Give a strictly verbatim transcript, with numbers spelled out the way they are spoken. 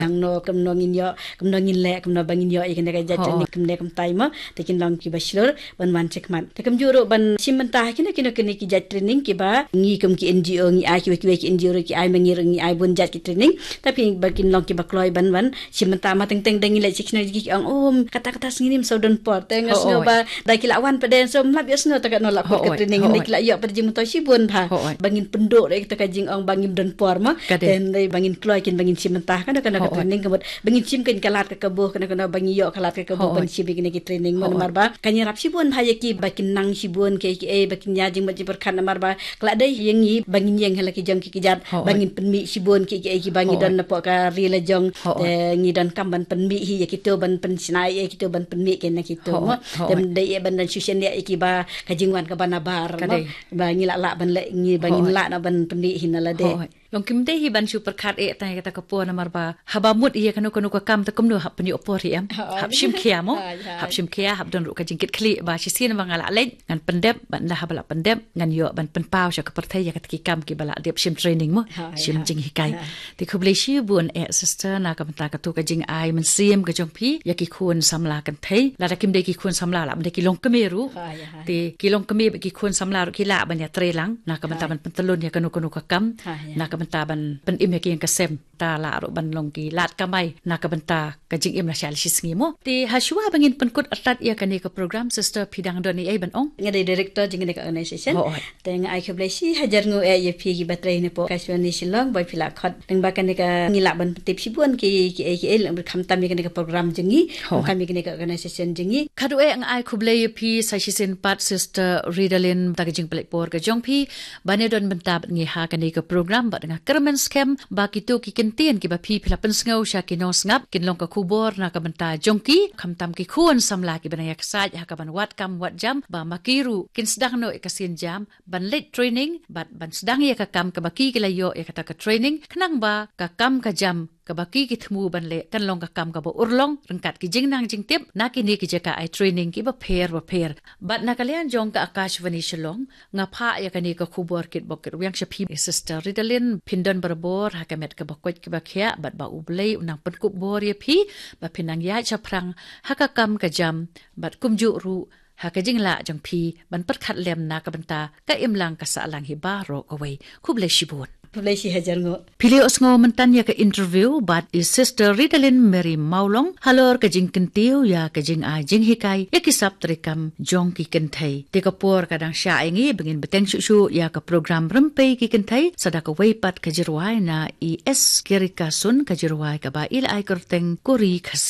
hangno, kumno ngin ïoh, kumno ngin leh, kumno ba ngin ïoh ïa kane ka jait training kumne kumtai mo. Te kin long kiba shlur ban wan shakhmat. Te kumjuh ruh ban shim bynta ha kino kino kine ki jait training kiba ngi kum ki N G O ngi ai, kiwei kiwei ki N G O ruh ki ai ma ngi ruh ngi ai bun jait ki training. Tapi ba kin long kiba kloi ban wan shim bynta, ma teng teng da ngi leit sha kino ki ong, um, kata kata sngi ngim sngewdon por. Te nga sngew ba da ki la wan pat de, so mlap ïohsngew ta katno la kut ka training. Hynrei ki la ïoh pat jingmyntoi shibun bha ba ngin pynduh ïa kata ka jingong ba ngim don por mo. Te hynrei ba ngin kloi kin ba ngin shim bynta kano kano ka training, ka mut ba ngin shim kane ka lad ka kabu, kano kano ba ngin ïoh ka lad ka kabu ban shim ïa kine ki training mo. Namar ba kan ïarap shibun bha ïa ki ba kin nang shibun kiei kiei, ba kin ïa jingmut jingpyrkhat, namar ba ka la dei ïa ngi ba ngin ïeng ha la ki jong ki kjat ba ngin pynmih shibun kiei kiei kiba ngi don napoh ka ri la jong. Te ngi donkam ban pynmih hi ïa kito, ban pynshna ïa kito, ban pynmih kane kito mo. Te dei ïa ban don shisien ïa kiba ka jingwan kaba nabar mo. Ba ngi lah lah ban leh, ngi ba ngin lah na ban pynmih hi na lade. Long kim dei hi ban shu pyrkhat eh tang ïa kata ka por, namar ba haba mut ïa kano kano ka kam te kumno hap pynïoh por hi em. Hap shim khia mo. Hap shim khia, hap don ruh ka jingkitkhlieh ba shisien ba nga lah leit ngan pyndep, bad ynda haba lah pyndep ngan ïoh ban pynpaw sha ka pyrthei ïa kata ki kam kiba lah dep shim training mo. Shim jinghikai. Te khublei shibun eh sister na ka bynta kato ka jingai mynsiem ka jong phi ïa ki khun samla kynthei. Lada kim dei ki khun samla, lah ban dei ki longkmie ruh. Te ki longkmie bad ki khun samla ruh ki lah ban ïatreilang na ka bynta ban pyntylun ïa kano kano ka kam, na ka bynta ban pynim ïa ki ïing ka sem. Ta lah ruh ban long ki lad kamai na ka bynta ka jingim lashai lashisngi mo. Te ha shuwa ba ngin pynkut artat ïa kane ka program, sister, phi dang don ei ei ban ong? Nga dei director jong kane ka organization. Te nga ai khublei shihajar nguh eh ïa phi kiba trei napoh Akashvani Shillong ba phi la khot. Lyngba kane ka ngi lah ban pyntip shibun ki, kiei kiei, lyngba khamtam ïa kane ka program jong ngi, khamtam ïa kane ka organization jong ngi. Khatduh eh nga ai khublei ïa phi sa shisien pat, sister Ridalin, ta ka jingpynleit por ka jong phi ban ïadon bynta bad ngi ha kane ka program, bad nga kyrmen skhem ba kito ki kyntien kiba phi, phi la pynsngew sha ki nongsngap kin long ka khubor na ka bynta jong ki, khamtam ki khun samla kiba nang ïaksaid ha kaban wad kam wad jam, ba ma ki ruh kin sdang noh ïa ka sienjam ban leit training bad ban sdang ïa ka kam kaba ki, ki la ïoh ïa kata ka training, khnang ba ka kam ka jam kaba ki, ki thmu ban leh kan long ka kam kaba urlong ryngkat ki jingnang jingtip na kine ki jaka ai training kiba pher ba pher. Bad na ka liang jong ka Akashvani Shillong, nga phah ïa kane ka khubor kitbok kitrwiang sha phi, sister Ridalin, phin don barabor ha ka met kaba koit kaba khiah, bad ba U Blei un nang pynkup bor ïa phi ba phin nang ïaid shaphrang ha ka kam ka jam, bad kumjuh ruh ha ka jinglah jong phi ban pyrkhat lem na ka bynta ka imlang ka sahlang hi baroh kawei. Khublei shibun. Khublei shihajar nguh. Phi la ïohsngew mynta ïa ka interview bad i sister Ridalin Mary Mawlong halor ka jingkyntiew ïa ka jingai jinghikai ïa ki sap treikam jong ki kynthei. Te ka por ka dang shah ïa ngi ba ngin bteng shuh shuh ïa ka program Rympei ki Kynthei, sa da kawei pat ka jingrwai na i S Kerikasun, ka jingrwai kaba i la ai kyrteng Kori Khasi.